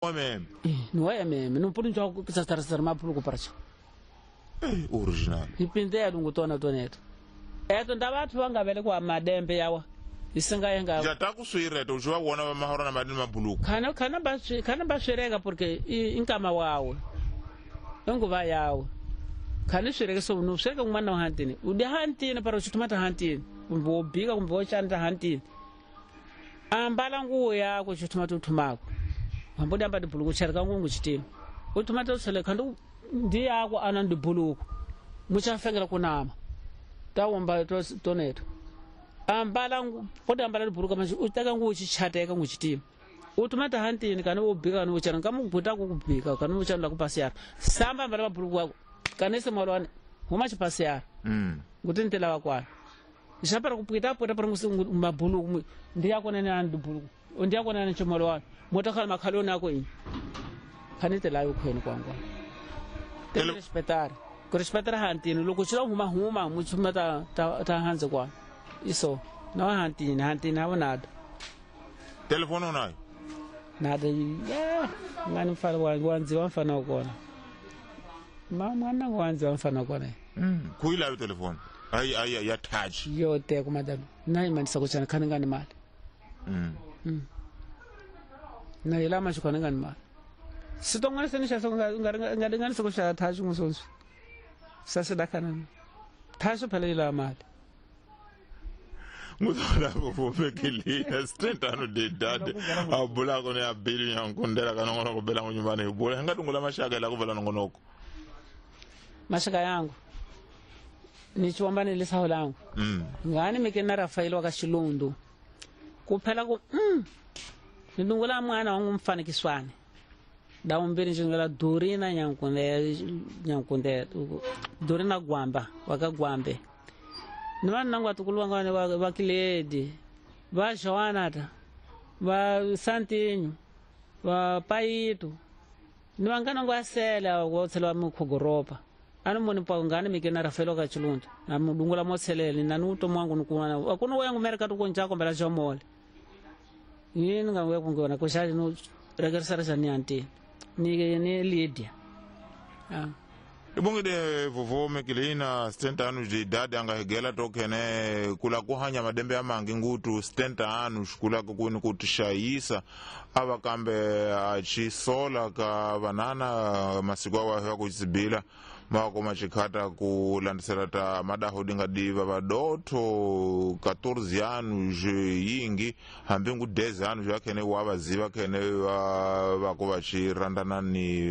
Meme. Ni wa meme no puni njo ku sa sar mapulu ku parcha. Original. Ipinde ya lungu tona toneto. Eto ndavathu vanga vele kwa madembe yawa. Isinga yenga. Jata ku swireta u va wona va mahora na madini mabuluku. Kana kana ba kana ba swireka porque inkama wawe. Nguva yawe. Kana swireka so no swireka ngwana wa hantini. Udi hantini para uchitumata hantini. Kumbe wobika kumbe wochanda hantini. Ambala nguo yako chitumata utumako. Hambuda amba dibuluku charika ngungu chitini. Utumata usele kandu ndi yako ana ndibuluku. Muchafengera kunama. Tawomba toneto. Ambala poda ambala dibuluku manje utaka nguo chichateka ngu chitini. Utumata hantini kana wobika kana wochana kamuguta kukubika kana wochana kupasiyara. Samba ambala mabuluku wako. Kanese mwalwane huma chipasiyara. Kuti ntela wakwana. Nxapara kupwita pwita para mabuluku ndi yako nene ana dibuluku. Ndi yako nene chomolwana. Motakhala makhaloni ako ini. Khanite layo khweni kwangwa. Te respeitar. Ku respeitar hantini loko xila huma huma muchuma ta ta hanze kwa. Iso no hantini hantini havonada. Telefono nayo. Nada ya ngani mfana wangu wanzi wamfana kona. Mama mwana wanzi wamfana kona. Kuila telefone. Ai ai ya touch. Yote ku madam. Nayi manisa kuchana khani ngani mali. Na ila mashuka ngani mali. Sitongana senisha ngani ngani sokusha touch ngusonso. Sasa dakana. Touch phela ila mali. Muzola kuvumekilina sitentano dedade abula kone abili nyankundela kana ngono kubela nyumbani ibula ngatungula mashaka la kuvala nongonoko. Mashaka yangu nichiwamba nilisaho langu. Ngani mikena Rafael wakashilundu kuphela ku nidungula mwana wangu mfanekiswane daumbiri njingala Dorina nyankunde Dorina Gwamba wakagwambe nimana nangu atukulu wanga wakiledi va Joanata va Santinho va Paito niwangana ngo asela wotsela mukhogoropa ano moni pa ngani mikena Rafael wakachilundu na mudungula motselele na nuto mwangu nikuwana akuno wangu mereka tukonja kombela jomole yini ngawe kungona kushali no regersara ni anti ni Lydia. Ibongide vovo mekilina 60 anos de idade angahegela tokene kula kuhanya madembe amangi ngutu 70 anos kula kukuni kutishayisa ava kambe achisola ka vanana masiku awo ahewa kuchizibila mawako machikhata kulandisela ta madaho dingadiva vadotho 14 anos yingi hambi ngu 10 anos yakhene wavaziva khene vako vachirandana ni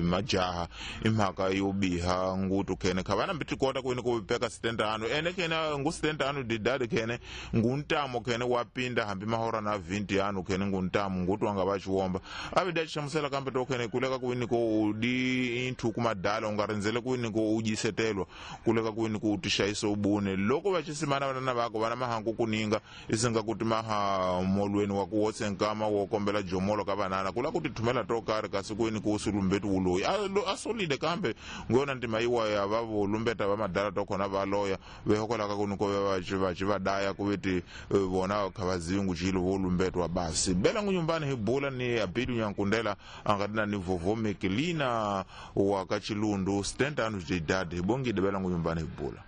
majaha imhaka yobiha ngutu khene khavana mbitikota kuini kuvipeka 70 anos ene khene ngu 70 anos didadi khene nguntamo khene wapinda hambi mahora na 20 anos khene nguntamo ngutu anga vachiwomba avida chichamusela kambe to khene kuleka kuini ko udi inthu kumadala ungarindzele kuini ko ujisetelwa kuleka kuini ku utishayisa ubune loko vachisimana vanana vako vana mahangu kuninga isinga kuti maha molweni wa kuwotse nkama wo kombela jomolo ka vanana kula kuti thumela to karhi kasi kuini ku usulumbetu wuloyi asolide kambe ngona ntima iwa ya vavo lumbeta va madala to khona va loya vehokolaka kuni ko vachi vadaya kuveti vona khavazivi nguchilo vo lumbetwa basi bela ngunyumbani hibula ni abidu nyankundela angatina ni vovo mekilina wa kachilundu 70 anos de idade hibongide bela ngunyumbani hibula.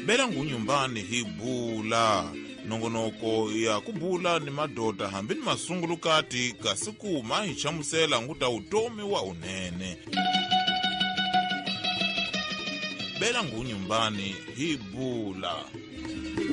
Bela ngunyumbani hibula nongonoko ya kubula ni madota hambi ni masungulukati kasi kuma hi chamusela nguta utomi wa unene. Bela ngunyumbani hibula.